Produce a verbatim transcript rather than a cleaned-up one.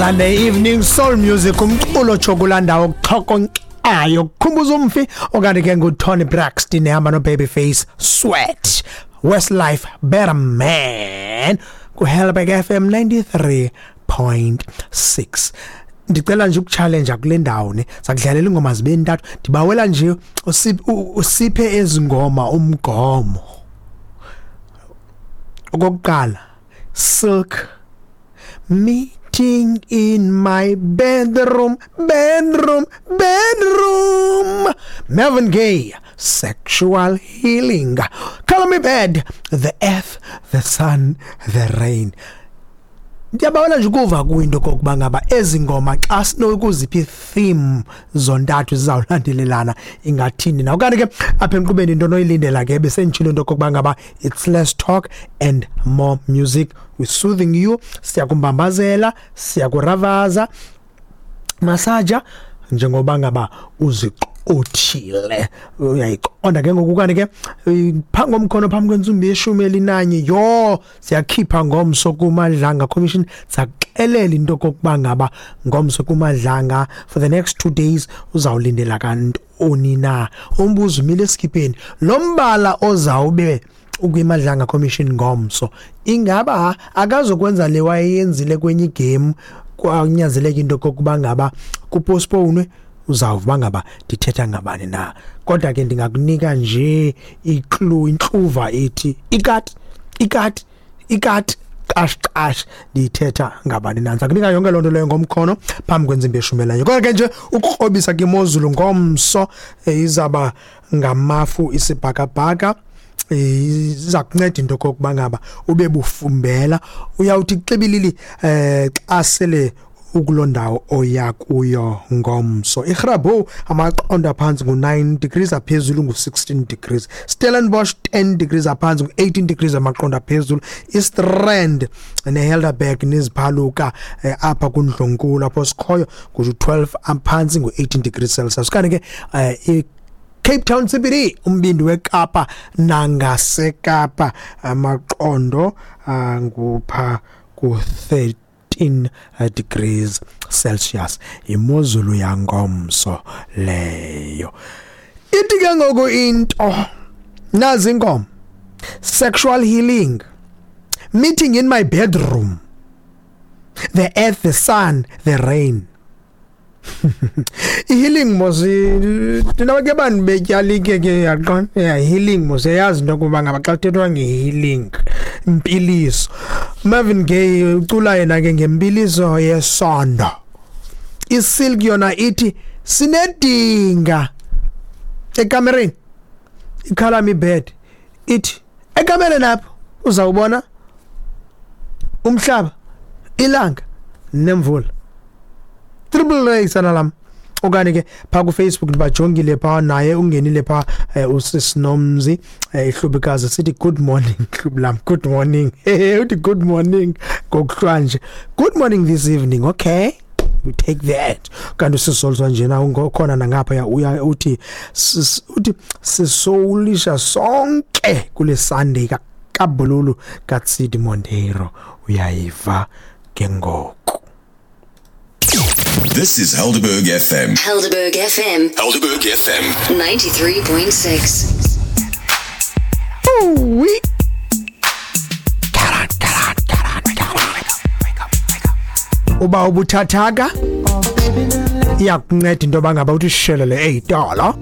Sunday evening soul music, umculo chokulandawo kuxhokonxayo kukhumbuza umfi, okanye ke nguToni Braxton ehamba no Babyface, Sweat, Westlife, Better Man, ku Helberg F M ninety-three point six. Ndicela nje ukuchallenge kule ndawo ne sakudlalela ingoma zibe ntathu. Ndibawela nje usiphe ezingoma umgomo. Okokuqala, Silk, "Meeting in my bedroom, bedroom, bedroom." Marvin Gaye, "Sexual Healing." Color Me Badd, "The Earth, the Sun, the Rain." Ndiyabawela nje ukuva kwinto kokuba ngaba ezi ngoma xa sinokuziphi theme zontathu zizawulandelelana ingathini na. Okanye ke apha emqubeni into noyilindela ke, besenditshilo into kokuba ngaba it's less talk and more music. We soothing you, siyakumbambazela, siyakuravaza, masaja njengoba ngaba uziqothile, uyayiqonda ke ngoku. Kanti ke phambi komkhono, phambi kwentsimbi yeshumi elinanye, yho, siyakhipha ngomso kuMadlanga Commission. Sakuxelela into kokuba ngaba ngomso kuMadlanga for the next two days uzawulindela kantoni na. Umbuzo umile esikipeni: lo mbala ozawube ukwiMadlanga Commission ngomso, ingaba akazokwenza le wayeyenzile kwenye igame, kwanyanzeleka into kokuba ngaba kupostpone? Uzawuva ngaba ndithetha ngabani na, kodwa ke ndingakunika nje iclue, intluva ethi ikati, ikati, ikati, qash qash. Ndithetha ngabani na? Ndizakunika yonke loo nto leyo ngomkhono phambi kwentsimbi yeshumi elinye. Kodwa ke nje ukukrobisa ke, imozulu ngomso izaba ngamafu, isibhakabhaka iza kunceda into kokuba ngaba ube bufumbela, uyawuthi xibilili eh xa sele ukuloo ndawo oya kuyo ngomso. IGrabouw amaqondo aphantsi ngu-nine degrees, aphezulu ngu-sixteen degrees. Stellenbosch ten degrees aphantsi, ngu-eighteen degrees amaqondo aphezulu. IStrand neHelderberg neziphaluka eh, apha kundlunkulu apho sikhoyo ngu-twelve aphantsi, ngu-eighteen degrees Celsius. Kanti ke eh, Cape Town C B D, umbindi weKapa nangaseKapa, amaqondo angupha ku-thirteen degrees Celsius. Imozulu yangomso leyo. Ithi ke ngoku into nazi inkomo: "Sexual Healing", "Meeting in My Bedroom", "The Earth, the Sun, the Rain". I-healing mos, thina ke bantu betyalike ke, yaqonda, yeah, healing mos, yazi into yokuba ngaba xa kuthethwa nge-healing, impiliso. Marvin Gaye ucula yena ke ngempiliso yesondo. ISilk yona ithi sinedinga ekamereni. IColor Me Badd ithi ekamereni apho uzawubona umhlaba, ilanga nemvula. Triple A sana lam. Okanye ke phaa kuFacebook ndibajongile phaa, naye ungenile phaa eh, usisinomzi eh, ihlubikazi, sithi good morning hlubi lam, good morning. Uthi good morning ngokuhlwanje, good morning this evening. Okay, we take that. Kanti usisolzwa njena ungokhona nangapha uya uthi uthi sisoulisha sonke kule Sunday kaBululu kaTsidi Monteiro. Uyayiva ke ngoku. This is Helderberg F M. Helderberg F M. Helderberg F M. ninety-three point six. Ooh-wee. Get on, get on, get on, get on. Uba ubuthathaka, iyakunceda into yoba ngaba uthi shelele eyitolo.